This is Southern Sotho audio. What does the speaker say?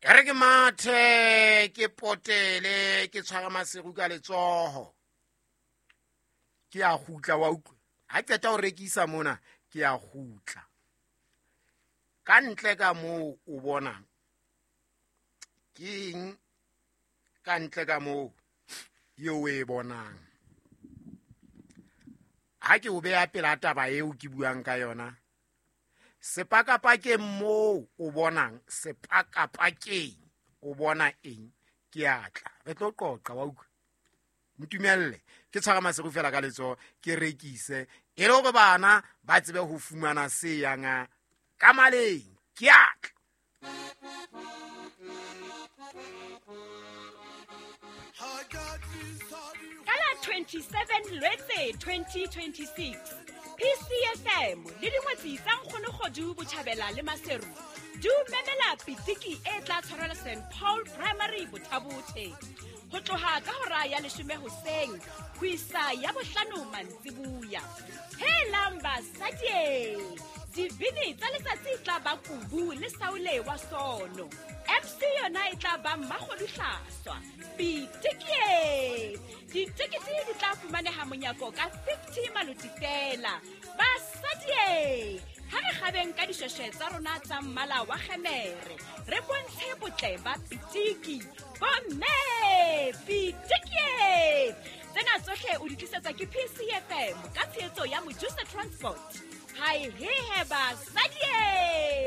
E re ke mathe, ke potele, ke tshwara Maseru ka letsoho, ke a kgutla. Wa utlwa, ha qeta ho rekisa mona, ke a kgutla. Ka ntle ka moo o bonang ke eng? Ka ntle ka moo eo o e bonang, ha ke o beha pela taba eo ke buang ka yona, sepakapakeng moo o bonang, sepakapakeng o bona eng? Ke atla re tlo qoqa, wa utlwa. Ntumelle ke tshwara Maseru fela ka letsoho, ke rekise, e le hore bana ba tsebe ho fumana se yang ka maleng. Ke atla. Ka la 27 Lwetse 2026, PCFM le dingwetsi tsa Nkgonokgodu Botjhabela le Maseru di o memela pitiki e tla tshwarelwa St Paul Primary, Bothabothe, ho tloha ka hora ya 10 hoseng ho isa ya 5 mantsibuya. Helang basadie! Dibini tsa letsatsi tla ba Kubu le Saule wa Sono. MC yona e tla ba Mmakgoduhlaswa. Pitikie! Ditekete di tla fumaneha monyako ka 50 maloti fela. Basadie! Ha re kgabeng ka dishweshwe tsa rona tsa mmala wa kgemere, re bontshe botle ba pitiki. Bomme! Pitikie! Tsena tsohle o di tlisetswa ke PCFM ka tshehetso ya Mojusa Transport. Hai hehe basadie!